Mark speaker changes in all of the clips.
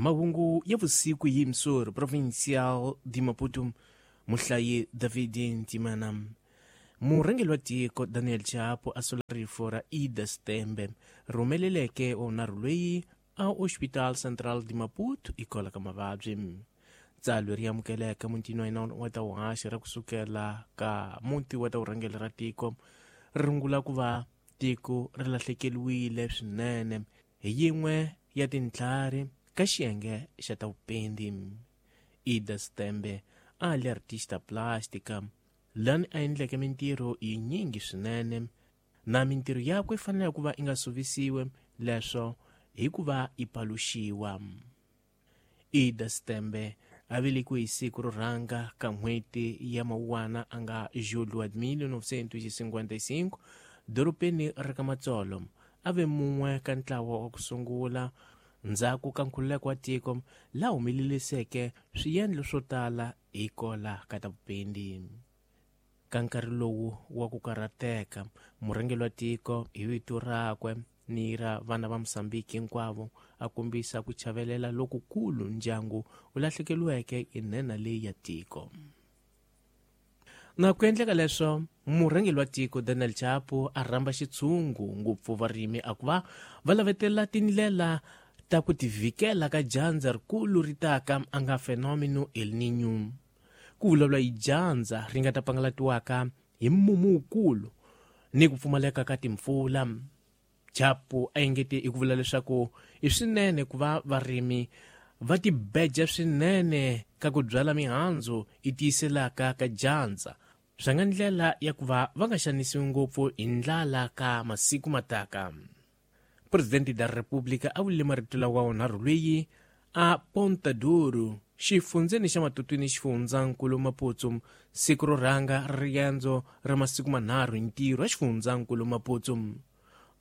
Speaker 1: Mahungu ya vusiku hi Msor Provincial de Maputo, muhlayi David Ntimana. Murhangeri wa tiko Daniel Chapo a sola rifu ra Ida Stembe rhumeleleke wa vunharhu loyi a Hospital Central de Maputo hikwalaho ka mavabyi. Tsalwa ri amukeleka mutini wa hina wa ta vuhaxi ra kusukela ka muti wa ta vurhangeri ra tiko ri rungula ku va tiko ri lahlekeriwile swinene hi yin'we ya tintlhari ka xiyenge xa ta vupendi. Ida Stembe a li artista plástica lani a endleke mintirho yinyingi swinene na mintirho yakwe yi fanele ku va yi nga suvisiwe leswo hi ku va yi paluxiwa. Ida Stembe a velekiwe hi siku ro rhanga ka n'hweti ya Mawuwana a nga julho wa 1955 dorobeni ra ka Matsolo. A ve mun'we ka ntlawa wa ku sungula ndzhaku ka nkhululeko wa tiko laha humeleliseke swiendlo swo tala hi kola ka ta vupendi. Ka nkarhi lowu wa ku karhateka, murhangeri wa tiko hi vito rakwe ni ra vana va Mozambique hinkwavo a kombisa ku chavelela lokukulu ndyangu wu lahlekeriweke hi nhenha leyi ya tiko. Na ku endleka leswo, murhangeri wa tiko Daniel Chapo a rhamba xitshungu ngopfu varimi a ku va va lavetela tindlela ta ku tivhikela ka dyandza rikulu ri taka a nga fenomeno El Niño. Ku vulavula hi dyandza ri nga ta pangalatiwaka hi mumu wukulu ni ku pfumaleka ka timpfula. Chapo a engete hi ku vula leswaku i swinene ku va varimi va tibeja swinene ka ku byala mihandzu yi tiyiselaka ka dyandza swa nga ndlela ya ku va va nga xanisiwi ngopfu hi ndlala ka masiku mataka. Presidente da República a vulile marito lawa wunharhu loyi a Ponta Duro, xifundzeni xa Matutwini xifundzankulu Maputo, siku ro rhanga ra riendzo ra masiku manharhu hi ntirho wa xifundzankulu Maputo.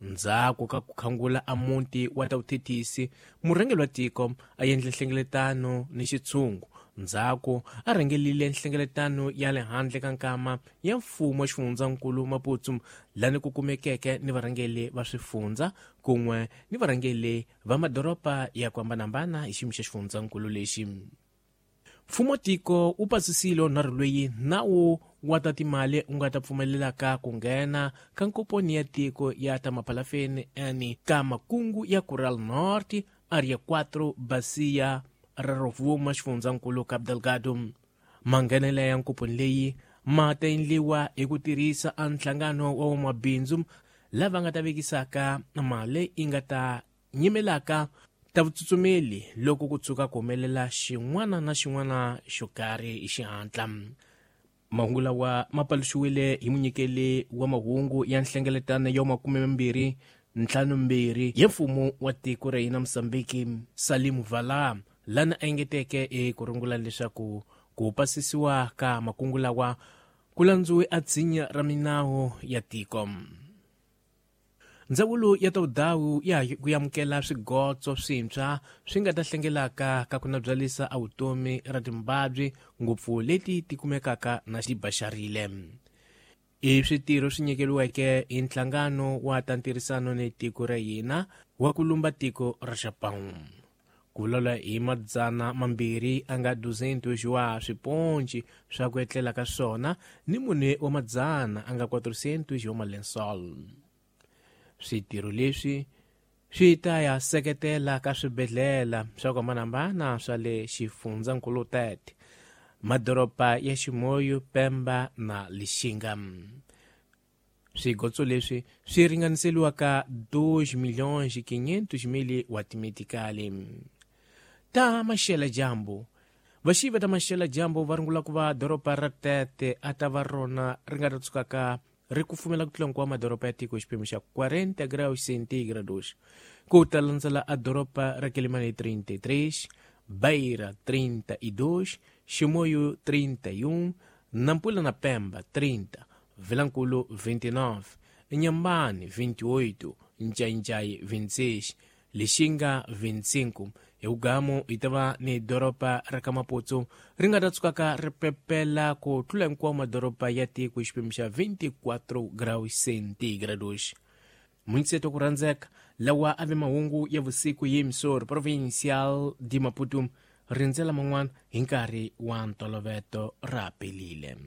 Speaker 1: Ndzhaku ka ku khangula a muti wa ta vuthethisi, murhangeri wa tiko a endle nhlengeletano ni xitshungu. Ndzhaku a rhangelile nhlengeletano ya le handle ka nkama ya mfumo wa xifundzankulu Maputo, lani ku kumekeke ni varhangeri va swifundza kun'we ni varhangeri va madoroba ya ku hambanahambana hi xiyimo xa xifundzankulu lexi. Mfumo tiko wu pasisile nharhu loyi nawu wa ta timali wu nga ta pfumelelaka ku nghena ka nkoponi ya tiko ya ta maphalafeni ani ka makungu ya Coral Norte Area 4 Bacia ra Rovuma xifundzankulu Cabo Delgado. Manghenela ya nkoponi leyi ma ta endliwa hi ku tirhisa a nhlangano wa vamabindzu lava nga ta vekisaka mali yi nga ta nyimelaka ta vutsutsumeli loko ku tshuka ku humelela xin'wana na xin'wana xo karhi hi xihatla. Mahungu lawa ma paluxiwile hi munyikeli wa mahungu ya nhlengeletano ya 25 ya mfumo wa tiko ra hina Mozambique, Salim Vala, lana a engeteke eku rungula leswaku ku pasisiwa ka makungu lawa ku landziwe a tshinya ra minawu ya tiko. Ndzawulo ya ta vudawu ya ku amukela swigotso swintshwa swi nga ta hlengelaka ka ku nabyalisa a vutomi ra timbabyi ngopfu leti ti kumekaka na xibaxarile. I switirho swi nyikeriweke hi nhlangano wa ta ntirhisano ni tiko ra hina wa ku lumba tiko ra Japan. Ku vulavula hi 200 a nga 200 wa swiponci swa ku etlela ka swona ni 4 wa madzana a nga 400 wa malensol. Switirho leswi swi ta ya seketela ka swibedhlele swa ku hambanahambana swa le xifundzankulu 30, madoroba ya Chimoio, Pemba na Lixinga. Swigotso leswi swi ringaniseliwa ka 2.5 milhões wa timetikali. Ta maxela dyambu. Vaxivi ta maxela dyambu va rungula ku va doroba ra Tete a ta va rona ri nga ta tsukaka ri kufumela ku tlula hinkwawo madoroba ya tiko hi xiphemu xa 40 graus centígrados. Ku ta landzela a doroba ra Quelimane 33, Beira 32, Chimoio 31, Nampula na Pemba 30, Vilankulo 29, Inhambane 28, Ncaincaí 26, Lixinga 25. Hi vugamu hi ta va ni doroba ra ka Maputo ri nga ta tsukaka ri pepela ku tlula hinkwawo madoroba ya tiko hi xiphemu xa 24 graus centígrados. Munseto ku rhandzeka lawa a ve mahungu ya vusiku hi Emissora Provincial de Maputo. Rindzela man'wana hi nkarhi wa ntoloveto ra pelile.